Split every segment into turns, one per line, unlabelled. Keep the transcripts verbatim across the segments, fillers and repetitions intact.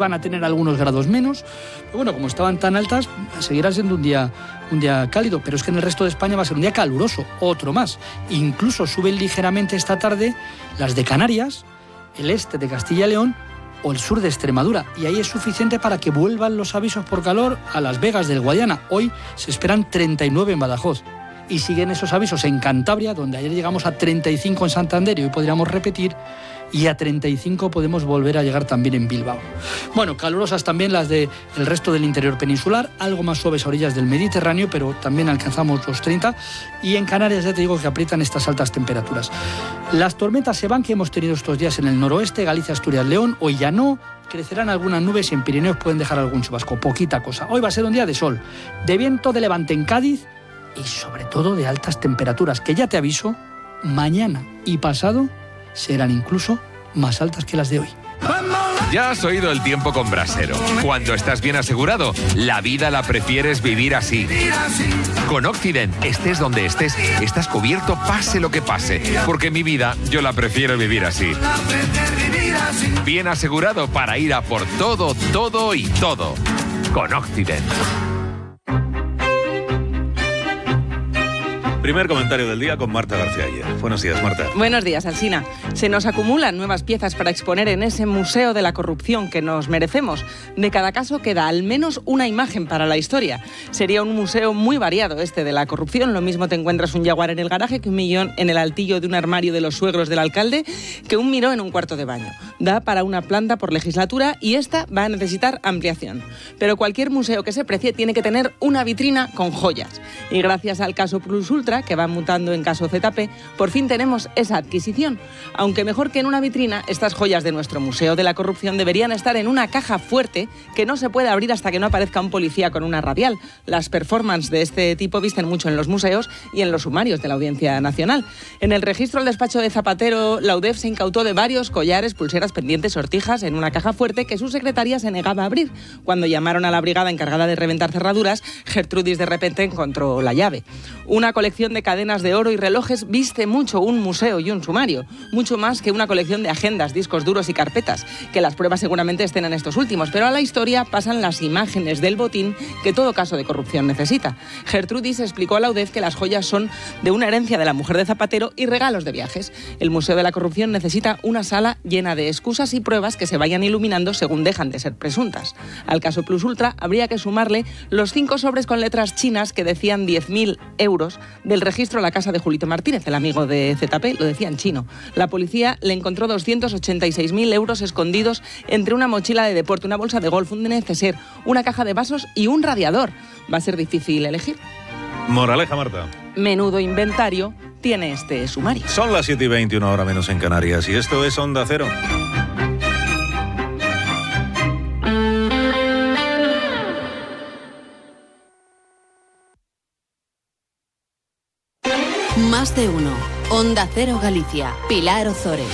van a tener algunos grados menos, pero bueno, como estaban tan altas, seguirá siendo un día, un día cálido, pero es que en el resto de España va a ser un día caluroso, otro más. Incluso suben ligeramente esta tarde las de Canarias, el este de Castilla y León o el sur de Extremadura, y ahí es suficiente para que vuelvan los avisos por calor a Las Vegas del Guadiana. Hoy se esperan treinta y nueve en Badajoz. Y siguen esos avisos en Cantabria, donde ayer llegamos a treinta y cinco en Santander y hoy podríamos repetir, y a treinta y cinco podemos volver a llegar también en Bilbao. Bueno, calurosas también las del resto del interior peninsular, algo más suaves a orillas del Mediterráneo, pero también alcanzamos los treinta, y en Canarias ya te digo que aprietan estas altas temperaturas. Las tormentas se van que hemos tenido estos días en el noroeste, Galicia, Asturias, León, hoy ya no, crecerán algunas nubes y en Pirineos pueden dejar algún chubasco, poquita cosa. Hoy va a ser un día de sol, de viento de levante en Cádiz, y sobre todo de altas temperaturas, que ya te aviso, mañana y pasado serán incluso más altas que las de hoy.
Ya has oído el tiempo con Brasero. Cuando estás bien asegurado, la vida la prefieres vivir así. Con Occident, estés donde estés, estás cubierto pase lo que pase, porque mi vida yo la prefiero vivir así. Bien asegurado para ir a por todo, todo y todo. Con Occident.
Primer comentario del día con Marta García Ayer. Buenos días, Marta.
Buenos días, Alsina. Se nos acumulan nuevas piezas para exponer en ese museo de la corrupción que nos merecemos. De cada caso queda al menos una imagen para la historia. Sería un museo muy variado este de la corrupción. Lo mismo te encuentras un jaguar en el garaje que un millón en el altillo de un armario de los suegros del alcalde, que un miró en un cuarto de baño. Da para una planta por legislatura y esta va a necesitar ampliación. Pero cualquier museo que se precie tiene que tener una vitrina con joyas. Y gracias al caso Plus Ultra, que va mutando en caso Z P, por fin tenemos esa adquisición. Aunque mejor que en una vitrina, estas joyas de nuestro Museo de la Corrupción deberían estar en una caja fuerte que no se puede abrir hasta que no aparezca un policía con una radial. Las performances de este tipo visten mucho en los museos y en los sumarios de la Audiencia Nacional. En el registro del despacho de Zapatero, la U D E F se incautó de varios collares, pulseras, pendientes, sortijas en una caja fuerte que su secretaria se negaba a abrir. Cuando llamaron a la brigada encargada de reventar cerraduras, Gertrudis de repente encontró la llave. Una colección de cadenas de oro y relojes viste mucho un museo y un sumario, mucho más que una colección de agendas, discos duros y carpetas, que las pruebas seguramente estén en estos últimos, pero a la historia pasan las imágenes del botín que todo caso de corrupción necesita. Gertrudis explicó a la U D E F que las joyas son de una herencia de la mujer de Zapatero y regalos de viajes. El Museo de la Corrupción necesita una sala llena de excusas y pruebas que se vayan iluminando según dejan de ser presuntas. Al caso Plus Ultra habría que sumarle los cinco sobres con letras chinas que decían diez mil euros del registro a la casa de Julito Martínez, el amigo de Z P, lo decía en chino. La policía le encontró doscientos ochenta y seis mil euros escondidos entre una mochila de deporte, una bolsa de golf, un neceser, una caja de vasos y un radiador. Va a ser difícil elegir.
Moraleja, Marta.
Menudo inventario tiene este sumario.
Son las siete y veinte, una hora menos en Canarias, y esto es Onda Cero.
Más de uno. Onda Cero Galicia. Pilar Ozores.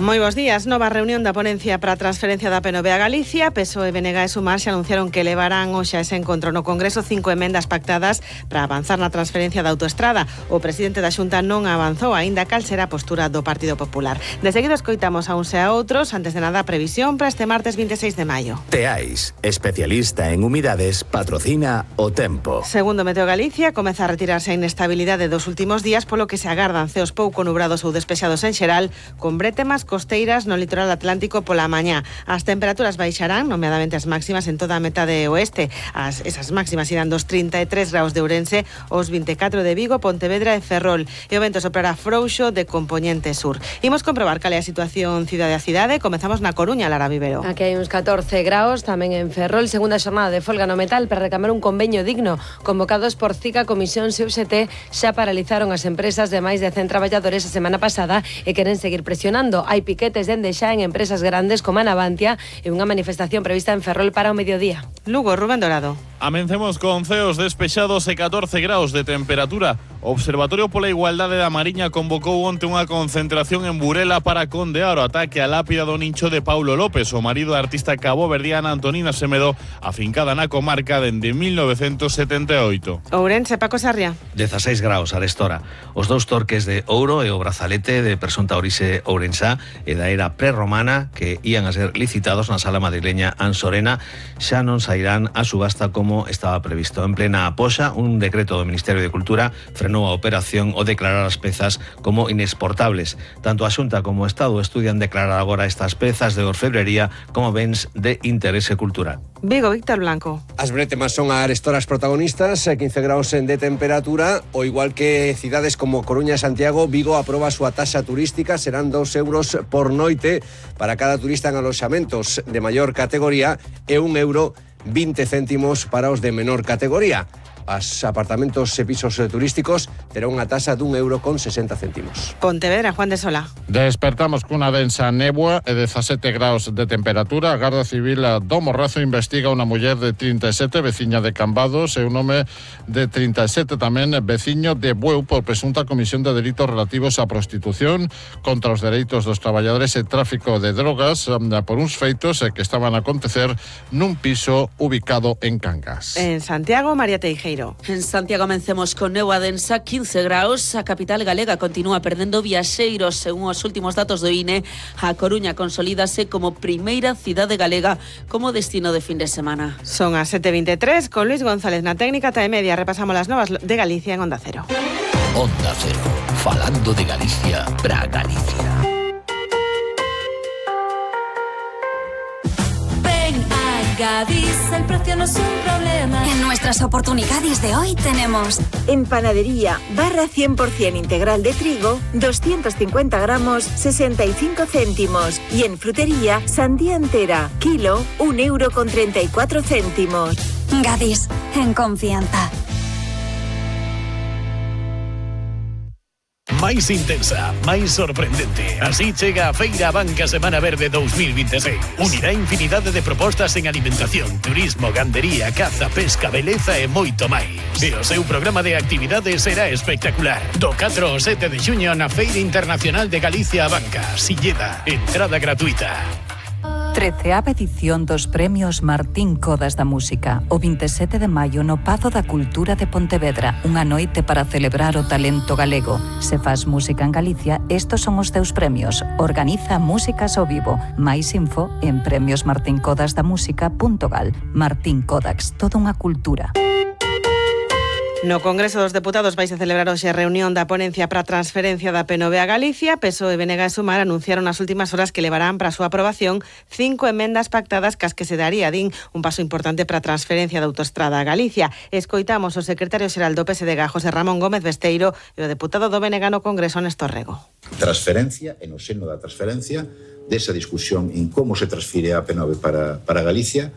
Moi bons días. Nova reunión da ponencia para a transferencia da P N V a Galicia. P S O E, B N G e Sumar se anunciaron que levarán hoxe a ese encontro no Congreso cinco emendas pactadas para avanzar na transferencia da autoestrada. O presidente da Xunta non avanzou aínda cal será a postura do Partido Popular. De seguido escoitamos a uns e a outros. Antes de nada, a previsión para este martes veintiséis de maio.
Teais, especialista en humidades, patrocina o tempo.
Segundo Meteo Galicia, comeza a retirarse a inestabilidade dos últimos días, polo que se agardan ceos pouco nubrados ou despexados en xeral, con brétemas costeiras no litoral atlántico pola mañá. As temperaturas baixarán, nomeadamente as máximas en toda a metade oeste. As, esas máximas irán dos trinta e tres graus de Ourense, os vinte e catro de Vigo, Pontevedra e Ferrol. E o vento soprará frouxo de compoñente sur. Imos comprobar cal é a situación cidade a cidade. Comezamos na Coruña, Lara Vivero.
Aquí hai uns catorce graus, tamén en Ferrol, segunda xornada de folga no metal para reclamar un convenio digno. Convocados por CICA, Comisión e U X T, xa paralizaron as empresas de máis de cen traballadores a semana pasada e queren seguir presionando. Hai piquetes dende xa en empresas grandes como a Navantia e unha manifestación prevista en Ferrol para o mediodía.
Lugo, Rubén Dorado.
Amencemos con ceos despexados e catorce graus de temperatura. O Observatorio pola Igualdade da Mariña convocou onte unha concentración en Burela para condear o ataque á lápida do nincho de Paulo López, o marido da artista caboverdiana Antonina Semedo, afincada na comarca dende mil novecentos setenta e oito.
Ourense, Paco Sarria.
dezasseis graus a restora. Os dous torques de ouro e o brazalete de presunta orixe ourensá e da era prerromana que ían a ser licitados na sala madrileña Ansorena xa non sairán a subasta como estaba previsto. En plena apoxa, un decreto do Ministerio de Cultura frenou a operación o declarar as pezas como inexportables. Tanto a Xunta como o Estado estudian declarar agora estas pezas de orfebrería como bens de interese cultural.
Vigo, Víctor Blanco.
As bretemas son as arestoras protagonistas, quince graus de temperatura, o igual que cidades como Coruña e Santiago, Vigo aproba a súa taxa turística, serán dos euros por noite para cada turista en aloxamentos de maior categoría e un euro vinte céntimos para os de menor categoría. As apartamentos e pisos turísticos terán unha tasa dun euro con sesenta céntimos.
Pontevedra, Juan de Sola.
Despertamos cunha densa néboa e dezasete graus de temperatura. A Garda Civil do Morrazo investiga unha muller de trinta e sete, veciña de Cambados, e un home de trinta e sete tamén, veciño de Bueu, por presunta comisión de delitos relativos á prostitución, contra os dereitos dos traballadores e tráfico de drogas, por uns feitos que estaban a acontecer nun piso ubicado en Cangas.
En Santiago, María Teijeiro.
En Santiago amencemos con néboa densa, quince graus. A capital galega continúa perdendo viaxeiros. Según os últimos datos do I N E, a Coruña consolídase como primeira cidade galega como destino de fin de semana.
Son as sete e veintitrés, con Luis González na técnica, e media. Repasamos las novas de Galicia en Onda Cero.
Onda Cero, falando de Galicia para Galicia.
Gadis, el precio no es un problema.
En nuestras oportunidades de hoy tenemos
en panadería barra cien por ciento integral de trigo, doscientos cincuenta gramos, sesenta y cinco céntimos. Y en frutería, sandía entera, kilo, un euro con treinta y cuatro céntimos.
Gadis, en confianza.
Máis intensa, máis sorprendente. Así chega a Feira Banca Semana Verde dos mil veintiséis. Unirá infinidade de propostas en alimentación, turismo, gandería, caza, pesca, beleza e moito máis. E o seu programa de actividades será espectacular. Do catro ao sete de xuño na Feira Internacional de Galicia a Banca, Silleda, entrada gratuita.
treceava edición dos Premios Martín Codas da Música, o vinte e sete de maio no Pazo da Cultura de Pontevedra, unha noite para celebrar o talento galego. Se faz música en Galicia, estos son os teus premios. Organiza Músicas ao Vivo. Máis info en premios martín codas da música punto gal. Martín Codax, toda unha cultura.
No Congreso dos Deputados vais a celebrar hoxe a reunión da ponencia para a transferencia da P N V a Galicia. P S O E, B N G e Sumar anunciaron nas últimas horas que levarán para a súa aprobación cinco emendas pactadas cas que se daría, din, un paso importante para a transferencia da autoestrada a Galicia. Escoitamos o secretario xeral do P S D G, José Ramón Gómez Besteiro, e o deputado do B N G no Congreso, Néstor Rego.
Transferencia, e no seno da transferencia, desa discusión en como se transfire a P N V para, para Galicia,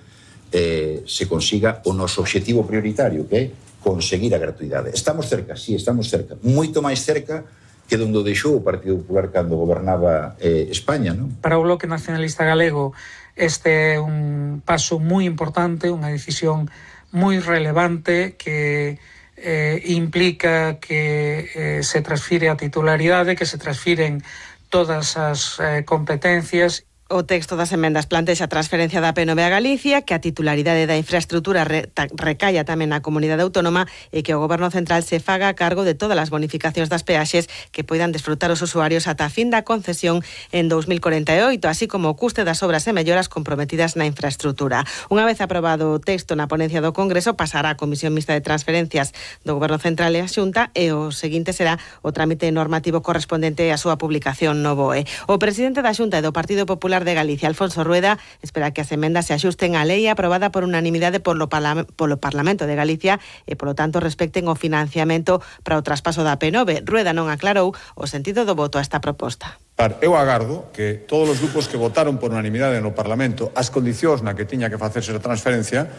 eh, se consiga o noso obxectivo prioritario, que é conseguir a gratuidade. Estamos cerca, sí, estamos cerca. Moito máis cerca que donde deixou o Partido Popular cando gobernaba eh, España, non?
Para o Bloque Nacionalista Galego este é un paso moi importante, unha decisión moi relevante que eh, implica que eh, se transfire a titularidade, que se transfiren todas as eh, competencias.
O texto das emendas plantexa a transferencia da P N V a Galicia, que a titularidade da infraestrutura re, ta, recaia tamén na comunidade autónoma e que o Goberno Central se faga a cargo de todas as bonificacións das peaxes que poidan desfrutar os usuarios ata a fin da concesión en dos mil cuarenta e oito, así como o custe das obras e melloras comprometidas na infraestrutura. Unha vez aprobado o texto na ponencia do Congreso, pasará a Comisión Mixta de Transferencias do Goberno Central e a Xunta, e o seguinte será o trámite normativo correspondente á súa publicación no B O E. O presidente da Xunta e do Partido Popular de Galicia, Alfonso Rueda, espera que as emendas se axusten á lei aprobada por unanimidade polo, parla- polo Parlamento de Galicia e, polo tanto, respecten o financiamento para o traspaso da P N V. Rueda non aclarou o sentido do voto a esta proposta.
Eu agardo que todos os grupos que votaron por unanimidade no Parlamento as condicións na que tiña que facerse a transferencia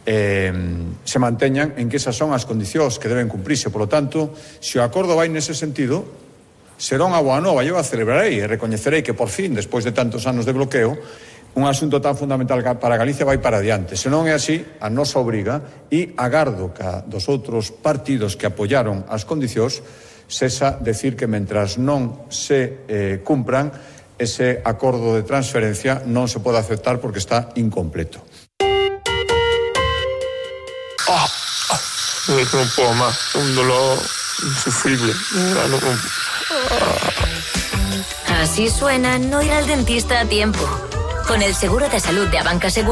eh, se manteñan en que esas son as condicións que deben cumprirse. Polo tanto, se o acordo vai nese sentido, será unha boa nova. Eu a celebrarei e recoñecerei que por fin, despois de tantos anos de bloqueo, un asunto tan fundamental para Galicia vai para adiante. Se non é así, a nosa obriga e agardo que dos outros partidos que apoyaron as condicións sexa decir que mentras non se eh, cumpran ese acordo de transferencia non se pode aceptar porque está incompleto.
Ah, ah, non puedo máis, un dolor insufrible. Ah, no, ah.
Así suena no ir al dentista a tiempo. Con el seguro de salud de Abanca Seguros